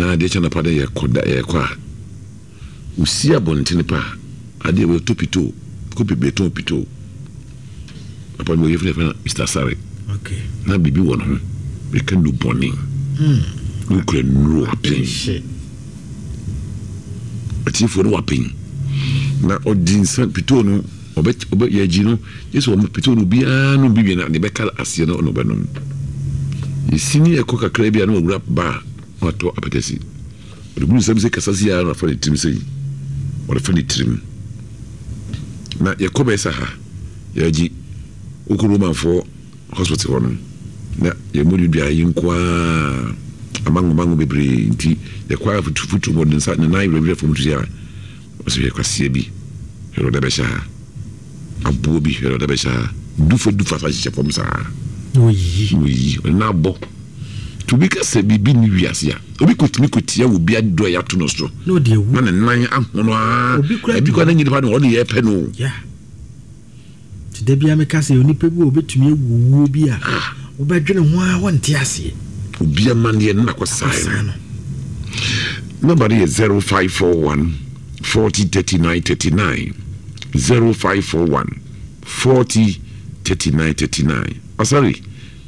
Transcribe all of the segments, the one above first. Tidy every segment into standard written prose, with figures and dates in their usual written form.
Na adeɛ kye anɔpa dɛ yɛkɔ da yɛkɔ a, wosi abɔntene pa a, adeɛ wei ɔtɔ pitoo, kɔ bebree tɔn pitoo. Papa no wɔyɛ fɛ no Mister Asare. Okay. Na biribi wɔ ne ho, meka nnubɔne. Hmm. Wokura nnuro apen. Atiefoɔ no wapen. Na ɔdi nsa pitoo no ɔbɛ ɔbɛ yɛgye no gye sɛ wɔn pitoo no obiara nom bi wie na deɛ bɛka aseɛ no na ɔbɛnom. Yɛsi ne yɛkɔ kakra bi a na wawura baa na watɔ apɛtɛsi. Ɔde gu ne nsam sɛ kasa si ara na wafa ne tirim sɛ yi. Ɔde fa ne tirim. Na yɛkɔ bɛyɛ sɛ ha yɛgye wokɔ Romanfoɔ hospital hɔ no na yɛn mu dua yi nko ara amango mango bebree nti yɛkɔ ara futu futu mu ɔde nsa ne nan werɛwerɛ fam tu a ɔsɛ hwɛ kwaseɛ bi hwɛ ɔde bɛhyɛ ha aboɔ bi hwɛ ɔde bɛhyɛ ha dufa dufa sa hyehyɛ fam saa na oyiyi na oyiyi ɔde nan abɔ nti obi ka sɛ biribi ne wiase a obi kɔtumi kɔtia wɔ bi aduro a yɛato no so na ɔde awu na ne nan ahono ara obi kura ebi kora ne nyinipa no ɔde yɛ pɛ no yeah. Nti da biara meka sɛ onipa bi wɔ obetumi awu owuo bi a wobɛdwene ho ara wonte aseɛ. Obi amanneɛ no na kɔsae no. Nɔmba no yɛ 0541 40 39 39 0541 40 39 39. Asare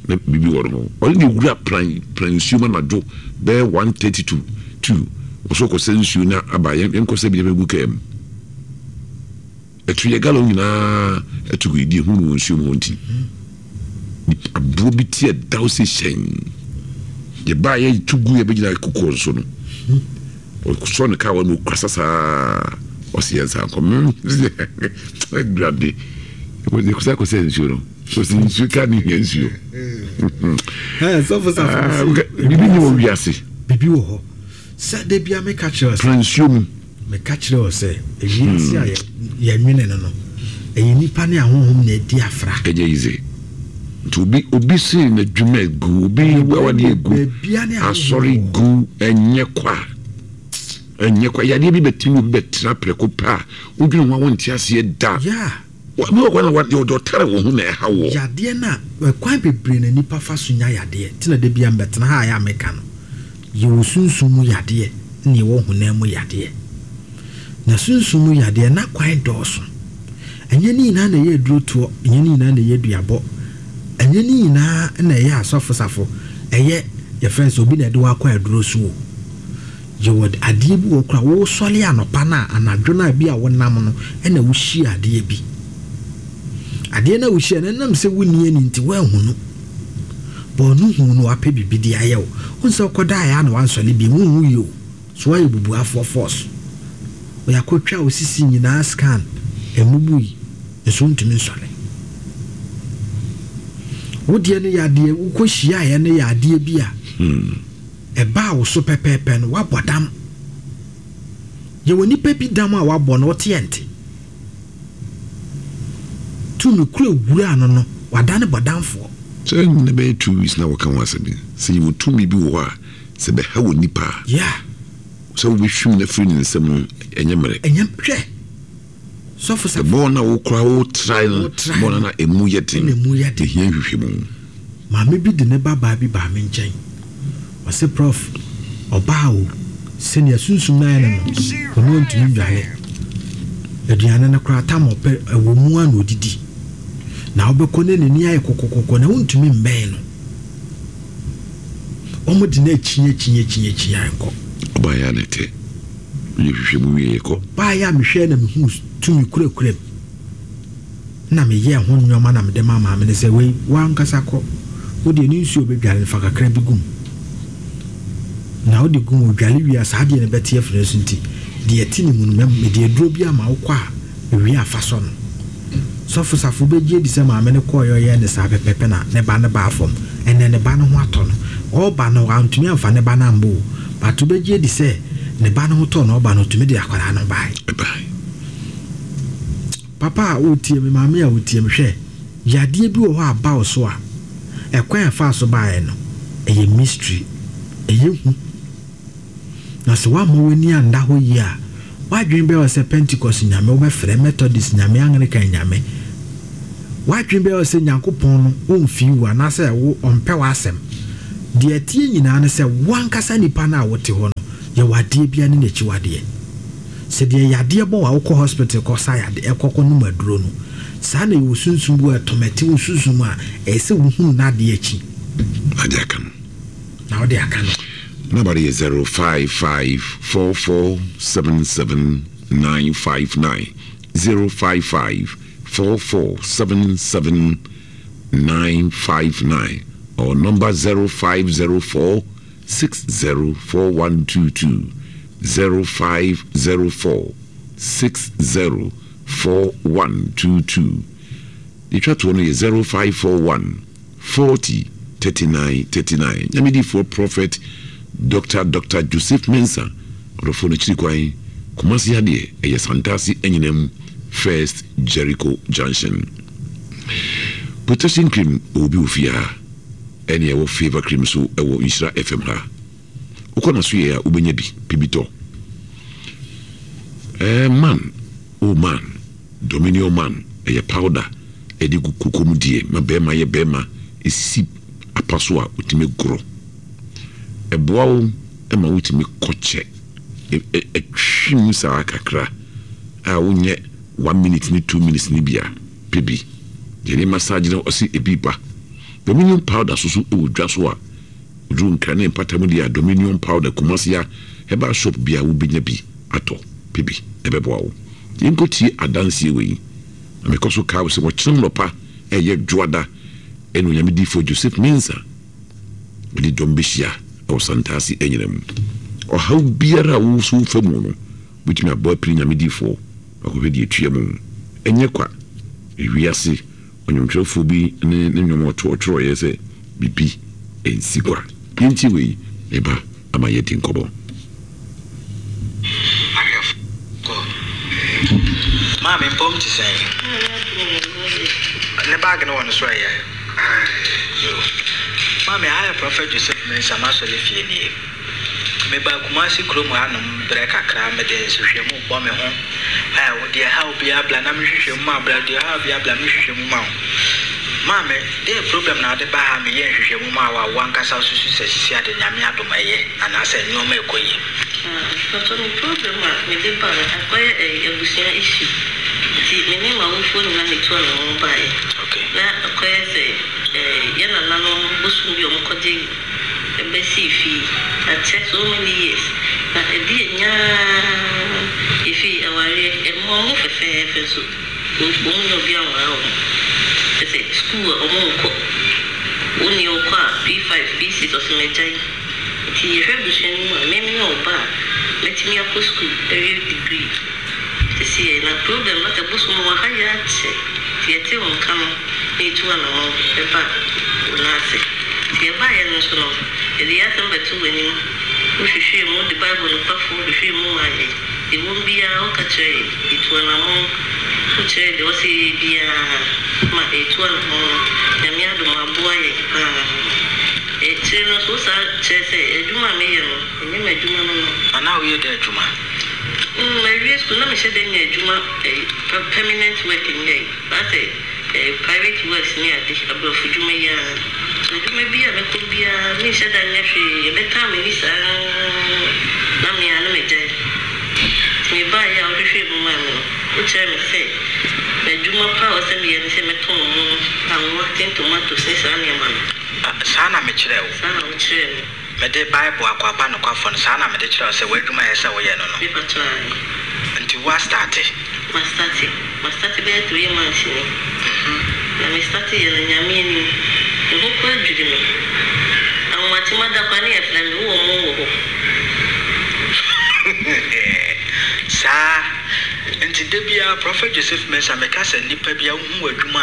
na biribi wɔ no ho. Ɔne ne wura pran pran nsuo mu anadwo bɛyɛ 1:30 to 2. Ɔsɛ ɔkɔsɛ nsuo na aba yɛnkɔsɛ bi na gu kaa mu. Ɛto yɛ gallon nyinaa ɛto gu yɛdi ehu no wɔ nsuo mu hɔ nti aboɔ bi ti ɛdaw sɛ hyɛn yɛbaa yɛ to gu yɛbɛgyina kokoɔ nso no ɔsɔ ne kaa wɔ no ɔkura sasaa ɔsi yɛn nsa nkɔ ɛdurade yɛkɔsɛ akɔsɛ nsuo no ɔsi nsuo kaa ne hia nsuo biribi ni wɔ wiase biribi wɔ hɔ sɛ da bia meka kyerɛ sɛ nsuo mu Meka kyerɛ wo sɛ, wiase a yɛnwene no no, ɛyɛ nnipa ne ahonhom na adi afra. Ɛnyɛ easy. Nti obi obi se n'adwuma egu, obi awadeɛ egu, asɔre gu, ɛnyɛ kwa. Ɛnyɛ kwa. Yadeɛ bi bɛtumi obi bɛtena prɛko pɛ a, wodwene ho a wonte aseɛ da. Yeah. Bi wɔ hɔ na deɛ ɔtare wo ho na ɛha woɔ. Yadeɛ no a, ɛkwan bebree na nnipa fa so nya yadeɛ. Nti na da biara mebɛtena ha a ɛyɛ a meka no. Yɛwɔ sunsum mu yadeɛ na yɛwɔ honam mu yadeɛ. Na sunsum mu yadeɛ, n'akwan dɔɔso. Ɛnyɛ ne nyinaa na ɛyɛ adurotoɔ, ɛnyɛ ne nyinaa na ɛyɛ duabɔ, ɛnyɛ ne nyinaa na ɛyɛ asɔfosafo, ɛyɛ yɛfrɛ no sɛ obi na ɛde wo akɔ aduro so o. Yɛwɔ adeɛ bi wɔ hɔ koraa a, wosɔre anɔpa no a, anadwo no a bi a wonam no na wohyia adeɛ bi. Adeɛ no a wohyia no, ɛnam sɛ wonni ani nti woanhunu. But ɔno huu no wapɛ biribi de ayɛ wo. Wohu sɛ wokɔdaeɛ a na wansɔre bio, wonwui o. So woayɛ bubuafoɔ force. Yɛakɔtwa wo sisi nyinaa scan, ɛmmubui, nso wontumi nsɔre. Wo deɛ no yɛ adeɛ, wokɔhyiaeɛ no yɛ adeɛ bi a ɛbaa wo so pɛpɛɛpɛ no, woabɔ dam. Yɛwɔ nipa bi dam a wabɔ no, woteɛ nte. Tumi koro ewuraa no no, wadane bɔdamfoɔ. Sɛ nnɛ bɛyɛ 2 weeks na wɔka ho asɛm yi, sɛ yɛwɔ tumi bi wɔ hɔ a, sɛ ɛbɛha wɔ nipa a, sɛ wobɛhwim no afiri ne nsam no, ɛnyɛ mmerɛ. Ɛnyɛ, hwɛ, sɔfo safo. Bɔɔl no a wokora wo trae no, bɔɔl no na emu yɛ den, ɛhia nhwehwɛmu. Maame bi de ne ba baa bi baa me nkyɛn. Ɔse prof ɔbaa o sɛnea sunsum no ayɛ no no ɔno ɔntumi nnwale aduane no koraa tam ɔpɛ ɛwɔ mu a na ɔdidi na wobɛkɔ ne n'ani ayɛ kɔkɔkɔkɔ na wontumi mmɛn no wɔn de no akyi akyi akyi akyi a nkɔ. Ɔbaa yɛ a na ɛtɛ yɛ hwehwɛ mu wie kɔ. Baa yɛ a mehwɛ na mehu tumi kurakura mu. Ɛnna meyɛɛ ho nneɛma na mede maa maame no sɛ, Wei, wo ankasa kɔ. Wo deɛ, ne nsuo a ɔbɛdware no, fa kakra bi gu mu. Na wode gu mu, ɔdware wie a, saa adeɛ no bɛte afiri ne so nti, deɛ ɛte ne mu no, mede aduro bi ama wo kɔ a, ɛwie a fa sɔ no. Sɔfo Safo bɛgye adi sɛ maame no kɔeɛ a ɔyɛɛ no saa pɛpɛɛpɛ na ne ba no baa fam. Ɛnnɛ, ne ba no ho atɔ no. Ɔreba no, wantumi amfa ne ba no ammɔ o, but wobɛgye adi sɛ ne ba no ho tɔɔ no, ɔreba no, ɔtumi de akwadaa no baeɛ. Ɛbaeɛ. Papa a woretie me, maame a wotie me, hwɛ, yadeɛ bi wɔ hɔ a aba wo so a, ɛkwan a ɛfaa so baeɛ no, ɛyɛ mystery, ɛyɛ hu. Na sɛ woamma w'ani anda hɔ yie a, w'adwene bɛyɛ wo sɛ Pentecost nyame, wobɛfrɛ, Methodist nyame, Anglican nyame. W'adwene bɛyɛ wo sɛ Nyankopɔn no ɔmfii wo anaasɛ wo ɔmpɛ w'asɛm. Deɛ ɛteɛ nyinaa ne sɛ, wo ankasa nipa no a wote hɔ no, Yɛwɔ adeɛ biara ne n'akyiwadeɛ. Sɛ deɛ yadeɛ bɔ wo a wokɔ hospital kɔ sa yadeɛ kɔ kɔ nom aduro no, saa na yɛwɔ sunsum bi wɔ ɛtɔmɛte wo sunsum a ɛyɛ sɛ wohunu n'adeɛ akyi. Na de aka no. Na wode aka no. Number no yɛ 0554477959, 0554477959 or number 0504 604122, 0504 604122. Deɛ ɛtwa toɔ no yɛ 0541 40 39 39. Nyame difoɔ Prophet Doctor Doctor Joseph Mensah, ɔdɔfoɔ no akyiri kwan, Kumasi ha deɛ ɛyɛ Santase Anyinam First Jericho Junction. Protection cream ɔwɔ bi wɔ fie ha. Ɛne ɛwɔ Favour Cream so wɔ Nhyira FM ha. Wokɔ n'asoɛe a wobɛnya bi, pɛ bi tɔ. Eh, man, oh man, Dominion man, ɛyɛ powder ɛde gu koko mu deɛ ma bɛrima yɛ bɛrima, ɛsisi apa so a wotumi gorɔ. Ɛboa wo ma wotumi kɔ kyɛ, ɛtwe mu saa kakra a wonyɛ one minute ne 2 minutes ne bi a, pɛ bi. Deɛ ne massage no ɔse ebi ba. Dominion powder soso wɔ dwa so a oduru Nkran ne mpata mu deɛ a Dominion powder Kumasi a herbal shop biara wobɛnya bi atɔ pɛ bi ɛbɛboa wo. Yɛnkɔ tie adanseɛ wei na mekɔ so kae wo sɛ wɔkyena anɔpa ɛyɛ dwoada ɛne Onyame difoɔ Joseph Mensah mede dɔm bɛhyia wɔ Santase anyina mu. Ɔhaw biara a wo so wofa mu no wobɛtumi abɔ apini Nyame difoɔ akɔhwɛ deɛ ɛtua mu. Ɛnyɛ kwa, ewiase Ɔnwomtwerɛfoɔ bi ne ne nnwom a ɔto ɔtwerɛeɛ sɛ biribi nsi kwa. Yɛntie wei, me ba, ama yɛadi nkɔmmɔ. Ahwɛfoɔ, Maame mpɔm te sɛn? Ne bag no wɔ ne so ɛyɛ? Yoo. Maame, ha yɛ Prɔfɛt Joseph Mensah m'asɔre fie nie. Mebaa Kumasi kurom hanom berɛ kakra, mede nsehwɛmu bɔ me ho. Ɛɛ, wo deɛ ɛhaw biara bla na menhwehwɛ mu ma wo, bla deɛ ɛhaw biara bla menhwehwɛ mu ma wo. Maame, deɛn problem na wode baa ha a meyɛɛ nhwehwɛmu maa wo a wo ankasa wosusu sɛ sisi ade Nyame adom ɛyɛ anaasɛ nnoɔma ɛkɔ yie? Ah, mpakyɛw me problem a mede ba no akɔyɛ ɛyi abusua issue nti me ne m'awofoɔ nyinaa na etu anamɔn baeɛ. Okay. Na akɔyɛ sɛ ɛɛ yɛn nananom bosom bi a wɔkɔgye bɛsii fie akyɛ so many years na ɛde anyaa yɛfii awareɛ ɛmmoa ɔmo fɛfɛɛfɛ nso ɔmo nnya obi anware ɔmo kyɛsɛ school a ɔmo nkɔ wo nua ɔkɔ a P5 P6 ɔse magyae nti yɛhwɛ abusua no mu a me meyɛ ɔba a mɛtumi akɔ school awie degree sesei na problem no sɛ bosom wɔ ha yi akyɛ nti yɛte wo nka no na yɛtu anamɔn ba wo nan ase. Nti yɛbaeɛ no nso no, yɛde yɛn asɛm bɛtoo w'anim, wohwehwɛɛ mu, wode Bible nokwafoɔ hwehwɛɛ mu maa yɛn. Deɛ ɛwom biara woka kyerɛɛ yɛn, yɛtuu anamɔn, wokyerɛɛ deɛ ɛwɔ sɛ yɛyɛ biara ma yɛtuu anamɔn no. Nyame adom aboa yɛn pa ara. Akyire no nso wosan kyerɛɛ sɛ adwuma a meyɛ no, ɛnyɛ m'adwuma no no. Na na woyɛ dɛn adwuma? Mawie sukuu na mehyɛ da nya adwuma, permanent work nyɛe. Asɛ eh private works ne ade, abrɔfo dwuma yi ara. So adwuma bi a mɛkɔ biara menhyɛ da nyɛ hwee, ɛbɛtaa m'ani saa na me ara na magyae. Nti mebaeɛ a wohwehwɛɛ mu maa me no, wokyerɛɛ me sɛ m'adwuma pa a ɛwɔ sɛ meyɛ ne sɛ mɛtɔn mo, anwa, tin tomatoes ne saa nneɛma no. Saa na mekyerɛɛ wo. Saa na wokyerɛɛ me. Mede Bible Akoaba Nokwafo no, saa na mede kyerɛɛ wo sɛ w'adwuma a ɛyɛ sɛ woyɛ no no. Me patrɔ ae. Nti woastarte? Mastarte. Mastarte bɛyɛ 3 months ni. Na me starte yɛ no Nyame anim. Me ho koraa dwiri me. Ahomakye mada koraa ne yɛfrɛ me, wowɔ mo wɔ hɔ. Saa. Nti da biara Prophet Joseph Mensah meka sɛ nipa biara wohu w'adwuma a,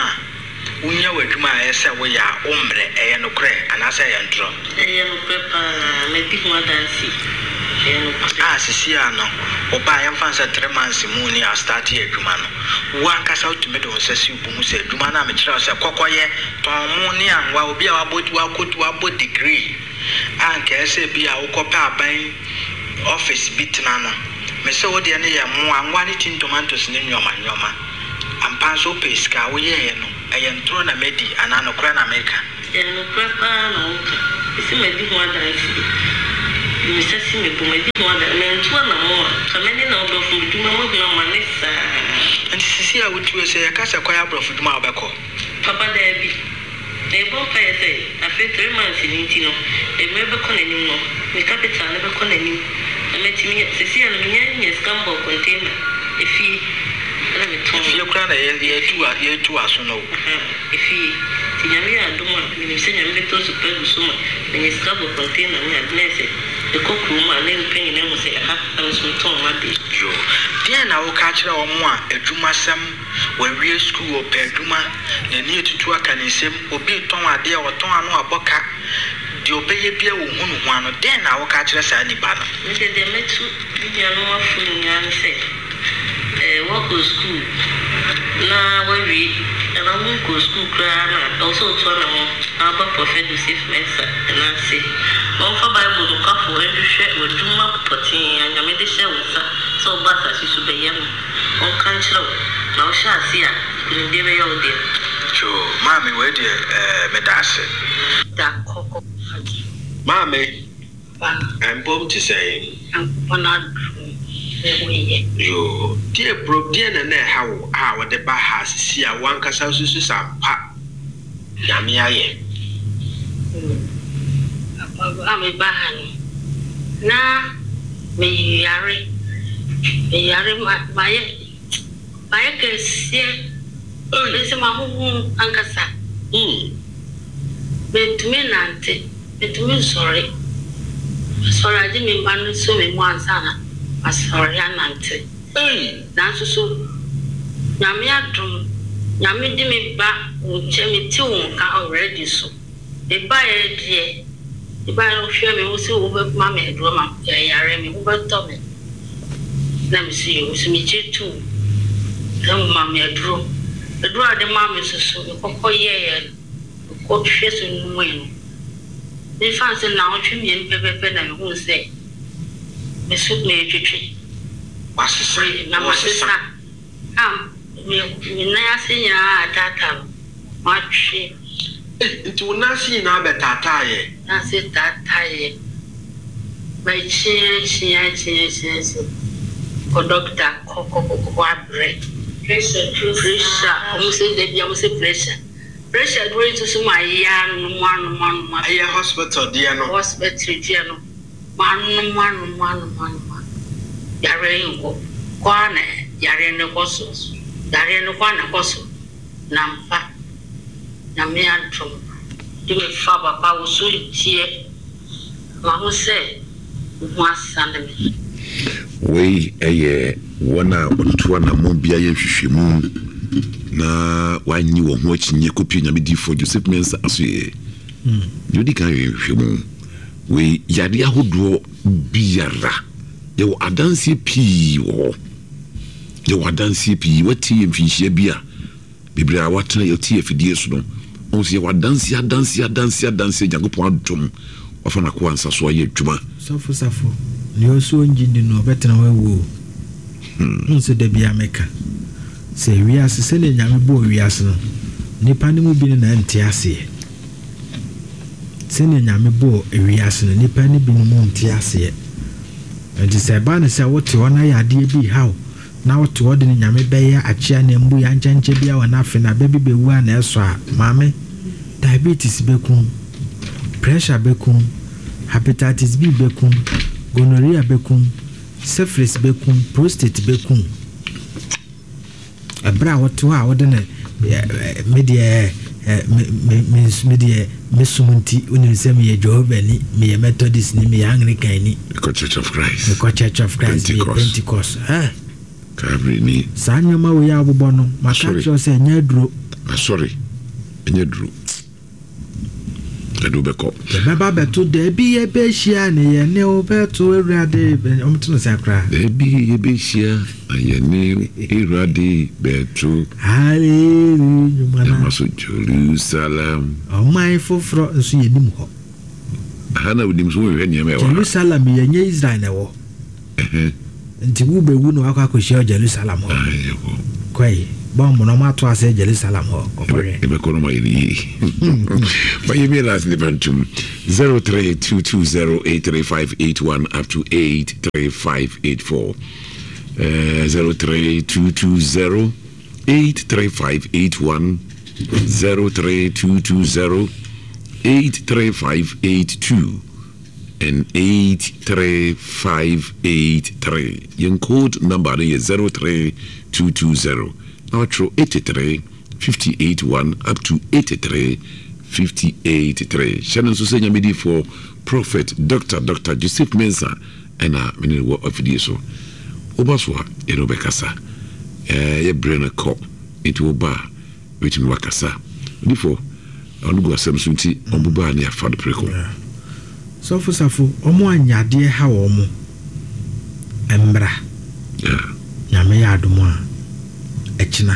Wunya w'adwuma a ɛyɛ sɛ woyɛ a, wommrɛ. Ɛyɛ nokorɛ anaasɛ ɛyɛ ntorɔ? Ɛyɛ nokorɛ paa. Madi ho adanseɛ. Ɛyɛ nokorɛ. A Seesei ara no, wo ba a yɛmfa no sɛ 3 months mu ni a ɔstartee adwuma no, wo ankasa wotumi de wo nsa si wo bo hu sɛ adwuma no a mekyerɛɛ wo sɛ kɔ kɔyɛ, tɔn mo ne anwa, obi a wabɔ wakɔ wabɔ degree a anka ɛyɛ sɛ ebia wokɔpɛ aban office bi tena no, mese wo deɛ no yɛ mo, anwa ne tin tomatoes ne nnoɔma nnoɔma. Ampa nso wopɛɛ sika a, woyɛeɛ no, ɛyɛ ntorɔ na madi anaa nokorɛ na meka? Ɛyɛ nokorɛ paa na woka. Mese madi ho adanseɛ. De me nsa si me bo, madi ho adanse. Mantu anammɔn a, anka mɛne na aborɔfo dwuma mu ahunu amane saa. Nti sisi a wotu yi, sɛ yɛka sɛ kɔyɛ aborɔfo dwuma a wobɛkɔ? Papa, daabi. Na yɛbɔ mpaeɛ sɛ afe three months no nti no, mmerɛ bɛkɔ n'anim no, me capital no bɛkɔ n'anim na matumi, seesei a no menya nya sika mbɔɔ container, efie na metɔn. Efie koraa na yɛtu yɛtu aso no o. Ahaa, efie. Nti Nyame yɛ adom a, menim sɛ Nyame bɛtɔ nsu pa agu so ma manya sika abɔ container ne ade na ayɛ sɛ mekɔ kurom a na nnipa nyinaa hu sɛ ɛha na me nso metɔn m'adeɛ. Yoo. Deɛn na woka akyerɛ wɔn a adwumasɛm Wawie sukuu, ɔpɛ adwuma, n'ani atutu aka ne nsam, obi retɔn adeɛ a ɔtɔn ano abɔ ka, deɛ ɔbɛyɛ biara ɔnhu ne ho ano. Dɛn na woka kyerɛ saa nipa no? Me deɛ, deɛ mɛtu me nuanom afo nyinaa ne sɛ, woakɔ sukuu na woawie anaa wonkɔɔ sukuu koraa no a, ɛwɔ sɛ wotu anammɔn na woba Prɔfɛt Joseph Mensah nan ase na ɔmfa Bible nokwafo nhwehwɛ w'adwuma pɔtee a Nyame de hyɛɛ wo nsa sɛ woba asase so bɛyɛ no. Ɔnka nkyerɛ wo, na wohyɛ ase a, nkunimdie bɛyɛ wo dea. Yoo maame wei deɛ ɛɛ medaase. Da kɔkɔ adi. Maame, mpom te sɛn? Nyankopɔn adom me ho yɛ. Yoo, deɛ bro deɛ na na ɛha wo a wode ba ha sisi a wo ankasa wosusu sɛ ampa Nyame ayɛ? Papa berɛ a me ba ha no na me yare, me yare mayɛ mayɛ kɛseɛ mese mahoho ankasa mentumi nnante mentumi nsɔre masɔre agye me mma no sɔ me mu ansa na masɔre anante. Nanso so Nyame adom, Nyame de me ba wo nkyɛn, me te wo nka already so me baeɛ deɛ, me baeɛ no wo hwɛ me wo se wo bɛ ma me aduro ma yare me ho bɛ tɔ me, na me se yoo, me so me gye tum na wo ma me aduro, aduro a wode maa me nso so me kɔkɔ yɛeɛ no, me kɔ hwɛ so nomee no, me fa no sɛ naawɔtwe mmienu pɛpɛpɛ na me huu sɛ me so meretwetwe. Wasesa, Na wɔresesa. masesa a me me nan ase nyinaa ataataa no, matwe. Ei, nti wo nan ase nyinaa bɛtaataaeɛ? Nan ase taataeɛ. Makyia kyia kyia kyia kyia. Kɔ dɔkta kɔ kɔ kɔ kɔ abrɛ. Pressure duro saa. Pressure, wɔn se da biara wɔn se pressure. Pressure duro yi nso so mayɛ anom anom anom. Ɛyɛ hospital deɛ no. Hospital deɛ no. Manom anom anom anom a, yareɛ yi nkɔ. Kɔ ara na yareɛ no kɔ so. Yareɛ no kɔ ara na ɛkɔ so. Na ampa, Nyame adom, de me fa papa wo so deɛ, mahu sɛ wo ho asane me. Wei yɛ wɔn a wɔtutu anammɔn bi ayɛ nhwehwɛmu na wɔannye wɔn ho akyinnye kɔpie Nyame difoɔ Joseph Mensah asoɛeɛ. Deɛ ɔdi kan yɛ nhwehwɛmu. Wei yadeɛ ahodoɔ biara yɛwɔ adanseɛ pii wɔ hɔ. Yɛwɔ adanseɛ pii. Watie yɛ mfinhyia bi a bebree a watena yɛte afidie so no, ɔhu sɛ yɛwɔ adanseɛ adanseɛ adanseɛ adanseɛ Nyankopɔn adom wafa n'akoa nsa so ayɛ adwuma. Sɔfo Safo, nea ɔse ɔngye nni no ɔbɛtena hɔ awu o. Wohu sɛ da biara meka sɛ wiase sɛdeɛ Nyame bɔɔ wiase no nnipa no mu bi no na ɛnte aseɛ. Sɛnea Nyame bɔɔ wiase no, nnipa no binom nte aseɛ. Nti sɛ ɛba no sɛ wote hɔ na yadeɛ bi reha wo, na wote hɔ de no Nyame bɛyɛ akyea na mbu yankyɛnkyɛ biara wɔ n'afe na bɛ bi bɛwu a na ɛsɔ a, maame, diabetes bɛku wo, pressure bɛku wo, hepatitis B bɛku wo, gonorrhea bɛku wo, syphilis bɛku wo, prostate bɛku wo. Ɛberɛ a wote hɔ a wode no me deɛ me me me me deɛ me som nti wonim sɛ meyɛ Jehovah ni meyɛ Methodist ni meyɛ Anglican ni. Mekɔ Church of Christ. Mekɔ Church of Christ meyɛ Pentecost. Eh. Calvary ni. Saa nneɛma wei a wobobɔ no maka akyerɛ wo sɛ ɛnyɛ aduro. Asɔre ɛnyɛ aduro. Ɛde wo bɛkɔ. Yɛbɛba bɛto dabi yɛbɛhyia ne yɛne wo bɛto Awurade wɔn to no sɛn koraa. Dabi yɛbɛhyia na yɛne Awurade bɛto. Hallelujah nnwuma na. Yɛma so Jerusalem. Ɔman foforɔ nso yɛnim hɔ. Aha na wonim so wohwehwɛ nneɛma ɛwɔ ha. Jerusalem yɛnyɛ Israel na ɛwɔ. Nti wo bɛwu na wakɔ akɔhyia wɔ Jerusalem hɔ. Yɛkɔ. Kɔe. Bɔmb no ɔmo ato asɛ Jerusalem hɔ kɔkɔhwɛ. Yɛbɛkɔ no ma yɛ ne yie. Ma yɛ mie last nipa ntum 0322083581 up to 83584. 03220 83581 03220 83582 and 83583. Yɛn code number no yɛ 03220 na watwerɛ 83 58 1 up to 83 58 3. Hyɛ no nso sɛ Nyamedifoɔ Prophet Doctor Doctor Joseph Mensah ɛna me ne no wɔ afidie so. Woba so a yɛne wo bɛkasa. Ɛɛ yɛ berɛ no kɔ nti woba a bɛtumi wakasa. Odifoɔ ɔno gu asɛm so nti ɔmo ba a ne yɛafa no preko. Sɔfo Safo ɔmo a nyadeɛ ha wɔn mmra. Nyame yɛ adom a ɛkyena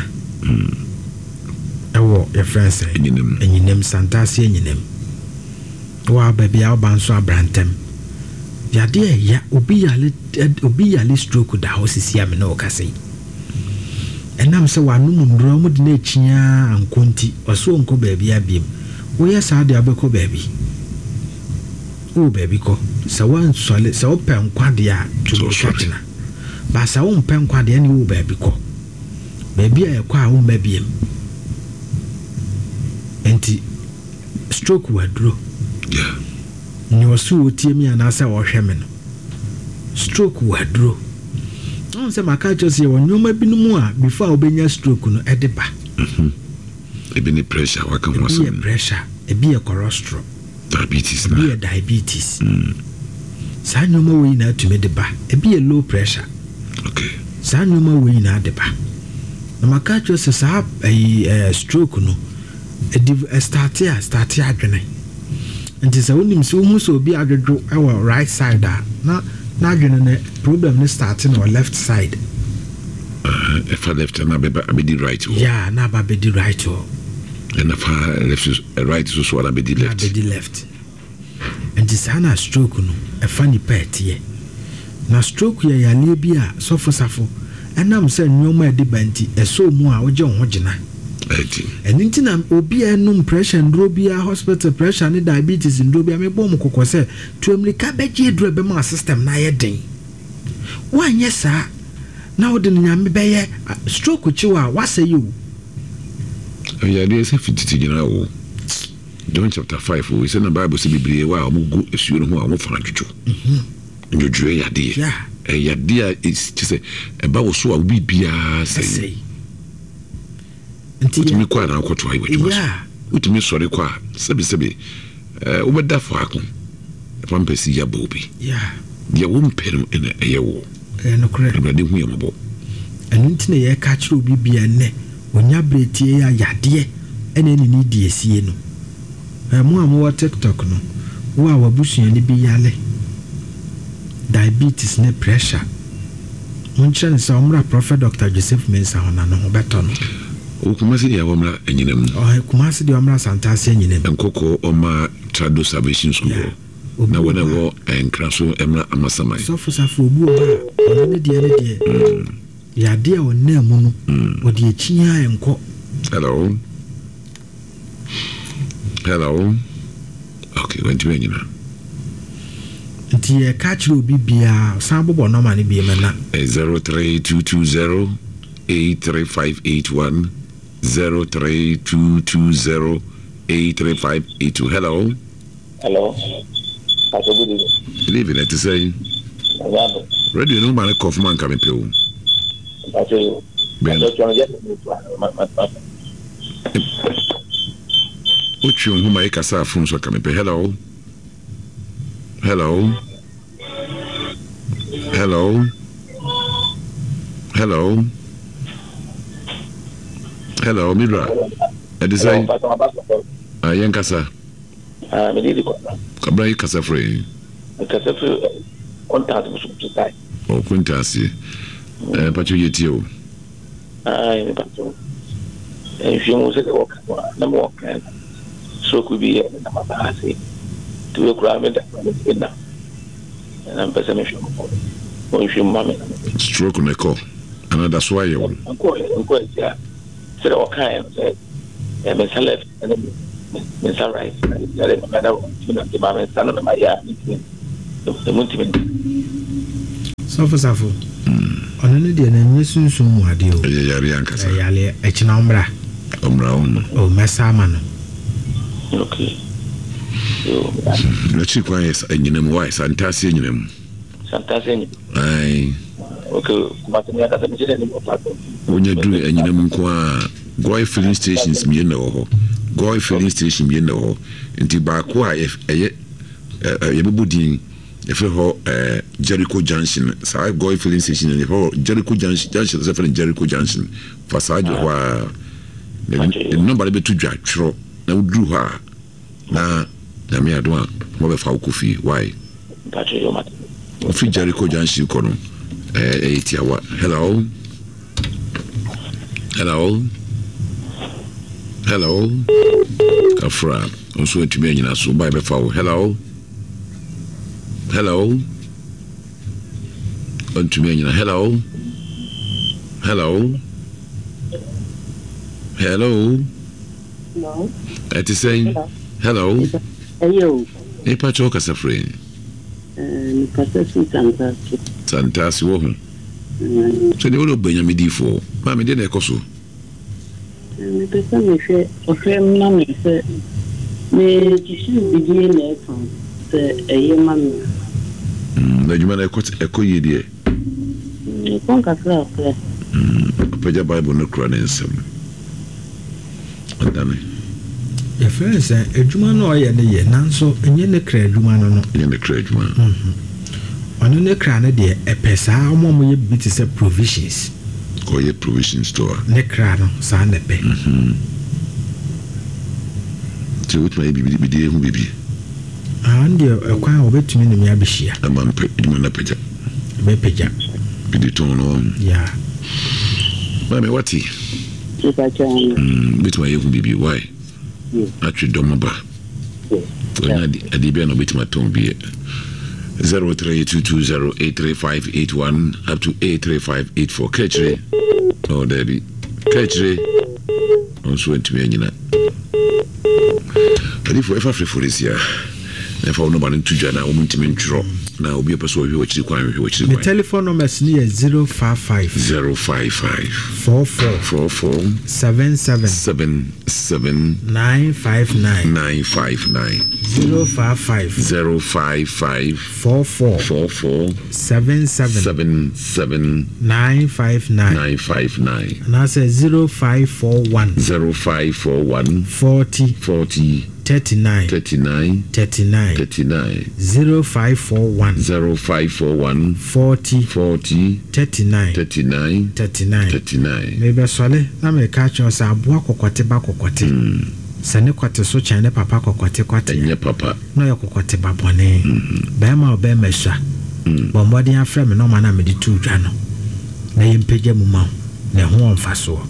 ɛwɔ yɛfrɛ no sɛn Anyinam. Anyinam Santase Anyinam. Wɔ a baabi a woba nso abra ntɛm. Yadeɛ ɛya obi yale obi yale stroke da hɔ sisi a me ne wo kasa yi. Ɛnam sɛ wanom nnuro a wɔde no akyi ara ankɔ nti ɔse ɔnkɔ baabi abiem. Woyɛ saa deɛ wobɛkɔ baabi. Wowɔ baabi kɔ. Sɛ woansɔre sɛ wopɛ nkwa deɛ a tu mmirika gyina. But sɛ wompɛ nkwa deɛ ɛne wowɔ baabi kɔ. Baabi a ɛkɔ a womma biem. Nti stroke wɔ aduro. Nea ɔse ɔtie me anaasɛ ɔhwɛ me no, stroke wɔ aduro. Wohu sɛ maka akyerɛ sɛ yɛwɔ nneɛma binom a before a wobɛnya stroke no ɛde ba. Mhm. Ebi ne pressure waka ho asɛm. Ebi yɛ pressure, ebi yɛ cholesterol. Diabetes na. Ebi yɛ diabetes. Saa nneɛma wei nyinaa tumi de ba. Ebi yɛ low pressure. Okay. Saa nneɛma wei nyinaa de ba. Na maka akyerɛ sɛ saa ɛyi ɛɛ stroke no ɛdi ɛstarte a ɛstarte adwene. Nti sɛ wonim sɛ wohu sɛ obi adwodwo wɔ right side a na n'adwene no problem no starte no wɔ left side. Ɛfa left na abɛba abɛdi right hɔ. Yeah, na aba abɛdi right hɔ. Ɛna fa left right so so na abɛdi left. Na abɛdi left. Nti saa na stroke no ɛfa nipa ɛteɛ. Na stroke yɛ yareɛ bi a sɔfo safo ɛnam sɛ nnoɔma a ɛde ba nti ɛsɔ mu a wogye wo ho gyina. Ɛno nti na obi a ɛnom pressure nnuro biara hospital pressure ne diabetes nnuro biara mebɔ wɔn kɔkɔ sɛ tu ammirika bɛgye aduro a ɛbɛma wo system no ayɛ den. Woanyɛ saa na wode no Nyame bɛyɛ stroke kye wo a woasɛe o. Ɛyɛ adeɛ sɛ fi tete nyinaa o. John chapter 5 o, sɛ na Bible sɛ bebree wɔ a wɔn gu asuo no ho a wɔn fa adwodwo. Ndwodwoɛ yɛ adeɛ. Ɛyɛ adeɛ a kyɛ sɛ ɛba wɔ so a wo biribiara sɛe. Wotumi kɔ a na wokɔtoa yɛ w'adwuma so. Wotumi sɔre kɔ a sɛbesɛbe wobɛda faako na pampɛs yi abɔ wo bi. Deɛ wompɛ no na ɛyɛ wo. Ɛyɛ nokorɛ. Awurade hu yɛn mmɔbɔ. Ɛno nti na yɛka kyerɛ obi bia nnɛ ɔnya berɛ tie yɛ a yadeɛ ɛna ɛne ne di asie no. Ɛ mo a mowɔ tiktok no, wo a w'abusuani bi yare diabetes ne pressure, monkyerɛ no sɛ ɔmmra Prophet Doctor Joseph Mensah hɔ na ne ho bɛtɔ no. Ɔwɔ Kumasi deɛ ɔmmra Anyinam. Ɔhɛ Kumasi deɛ ɔmmra Santase Anyinam. Nkɔkɔɔ ɔmma Trado Salvation School hɔ. Obi Na wɔ wɔn a hɔ ɛwɔ Nkran so mmra Amasaman. Sɔfo Safo obi wɔ hɔ a ɔno ne deɛ ne deɛ yadeɛ a ɔnam mu no ɔde akyi ara nkɔ. Hello. Hello. Okay, wantumi anyina. Nti yɛka kyerɛ obi biara san bobɔ nɔma no bi ma na. 03220 83581 03220 83582. Hello. Hello. Pastor, good evening. Good evening. Ɛte sɛn? Nyame adom. Radio no ma no kɔ fam anka mepɛ o. Pastor, Bɛn. Pastor, twɛn yɛ ne to ma ma ma. Wotwe wo ho ma yɛkasa afon so anka mepɛ. Hello. Hello. Hello. Hello. Hello, Mibra. Ɛte Hello, sɛn? Pastor, ma pastor. Ah, yɛnkasa. Ah, me di kwabra. Kwabra yi kasa frɛ yi. Me kasa firi contact so so tai. Oh, contact ye. Eh, pacho ye tie o. Ah, me pacho. Nhwɛ mu sɛ wɔ ka no na me wɔ kan. Stroke bi yɛ na ma ba ase. Tu we kura me da me na. Na mpɛ sɛ me hwɛ mo. Mo nhwɛ mu ma me. Stroke na ɛkɔ. Ana da so ayɛ wo. Nkɔ nkɔ asia. Sɛdeɛ wɔkaeɛ no sɛ ɛyɛ me nsa left ɛne me nsa right yare ma mada ntumi nante ma me nsa no na mayɛ a mentumi emu ntumi nante. Sɔfo Safo, ɔno ne deɛ no ɛnyɛ sunsum mu adeɛ o. Ɛyɛ yareɛ ankasa. Ɛyɛ yareɛ, ɛkyena ɔmmra. Ɔmmra wo ho. Oh, mɛsa ama no. Okay. Yo, N'akyiri kwan yɛ anyina mu, why? Santase anyina mu. Santase anyina. Ae. Okay, Kumasi mi ankasa mi kyerɛ ne mu ɔpa. Wonya duru anyina mu nko a, Goil filling stations mmienu na ɛwɔ hɔ. Goil filling station mmienu na ɛwɔ hɔ. Nti baako a ɛyɛ yɛbɛbɔ din yɛfrɛ hɔ Jericho Junction. Saa Goil filling station no yɛfrɛ hɔ Jericho Junction, junction sɛ yɛfrɛ no Jericho Junction. Fa saa gyina hɔ a, ne nɔmba no bɛto dwa twerɛ na woduru hɔ a Na Nyame adom a mo bɛ fa wo kɔ fie why? Wo firi Jericho junction kɔ no ɛyɛ tiawa hello hello hello kafra nso ntumi anyina so ba bɛ fa wo hello hello ntumi anyina hello hello hello. Hello. Ɛte sɛn? Hello. Ɛyɛ o. Nipa kyɛw kasa firi. Ɛɛ mekasa firi Santase. Santase wɔ ho. Sɛ deɛ wode ɔbɛ nyame diifoɔ. Maame deɛ na ɛkɔ so. Mepɛ sɛ mehwɛ ɔhwɛ ma me sɛ mekyekyere bidie na ɛtɔn sɛ ɛyɛ ma me a. Na adwuma no ɛkɔ ɛkɔ yie deɛ. Ɛkɔ nkakrakra. Ɔpagya Bible no kura ne nsam. Ɔdane. Yɛfrɛ no sɛ adwuma no a ɔyɛ no yɛ nanso ɛnyɛ ne kra adwuma no no. Ɛnyɛ ne kra adwuma no. Ɔno ne kra no deɛ ɛpɛ saa wɔn a wɔyɛ biribi te sɛ provisions. Ɔyɛ provision store. Ne kra no saa na ɛpɛ. Nti wobɛtumi ayɛ biribi de ahu biribi. Ah, ɔno deɛ ɛkwan a wɔbɛtumi ne me abɛhyia. Ama mpɛ adwuma no apagya. Ɛbɛpagya. Biribi tɔn no ɔho. Yeah. Maame wate. Wobɛtumi ayɛ ho biribi why? Atwe dɔm aba. Ɔnya adeɛ bi a na wobɛtumi atɔn bi. 0322083581 up to 83584 kakyire. Oh, daabi. Kakyire. Ɔnso antumi anyina. Adifo ɛfa frefo de sia. Na ɛfa wo nɔba no nto dwa na wɔn ntumi ntwerɛ na obi a ɔpɛ sɛ ɔhwehwɛ w'akyiri kwan hwehwɛ w'akyiri kwan. Me telephone numbers no yɛ 055. 055. 44. 44. 77. 77. 959. 959. 055. 055. 44. 44. 77. 77. 959. 959. Anaasɛ 0541. 0541. 40. 40. 39. 39. 39. 39. 0541. 0541. 40. 40. 39. 39. 39. 39. Merebɛsɔre na mereka akyerɛ wo sɛ aboa kɔkɔte ba kɔkɔte. Sɛ ne kɔte so kyɛn ne papa kɔkɔte kɔte a, Ɛnyɛ papa. na ɔyɛ kɔkɔte ba bɔne. Barima a ɔbɛrima sua, bɔ mmɔden afrɛ me nɔma no a mede too dwa no na yɛmpagya mu ma wo, na ɛho wɔ mfasoɔ.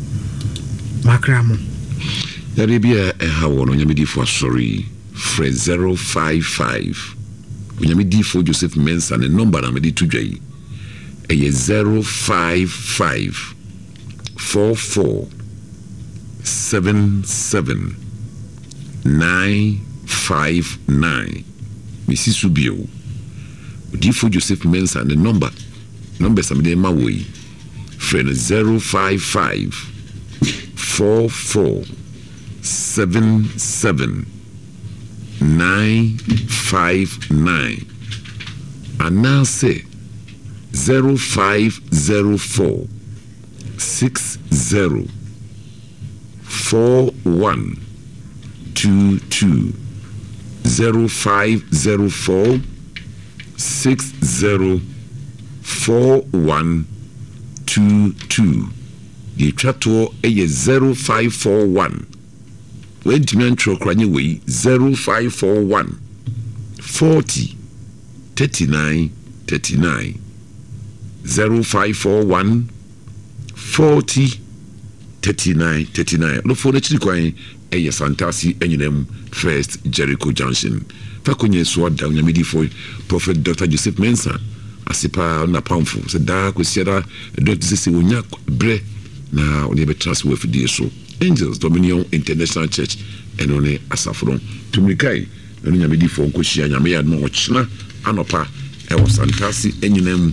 Makra mo. Yareɛ bi a ɛha wɔ no Onyame difoɔ asɔre yi frɛ 055 Onyame difoɔ Joseph Mensah ne number na mede to dwa yi ɛyɛ 055 44 77 959 Mesi so bio Odiyifoɔ Joseph Mensah ne number numbers a mede rema wɔ yi frɛ no 055 44 77 959 anaasɛ 0504 60 41 22 0504 60 41 22 Deɛ ɛtwa toɔ yɛ 0541 Wantumi antwerɛ koraa nyɛ wei 0541 40 39 39 0541 40 39 39 Ɔdɔfoɔ no akyiri kwan yɛ Santase Anyinam First Jericho Junction. Fa kɔnyɛ so ada Onyame difoɔ Prophet Doctor Joseph Mensah ase paa ɔne n'apamfo sɛ daa Kwasiada ɛdɔ te sɛ sɛ wɔnya berɛ. na ɔne yɛbɛtena ase wɔ afidie so. Angels Dominion International Church, ɛno ne asafo no. Tu mmirika yi na ne Nyame difoɔ nkɔhyia Nyame yɛ adom a ɔkyena anɔpa ɛwɔ Santase anyinam.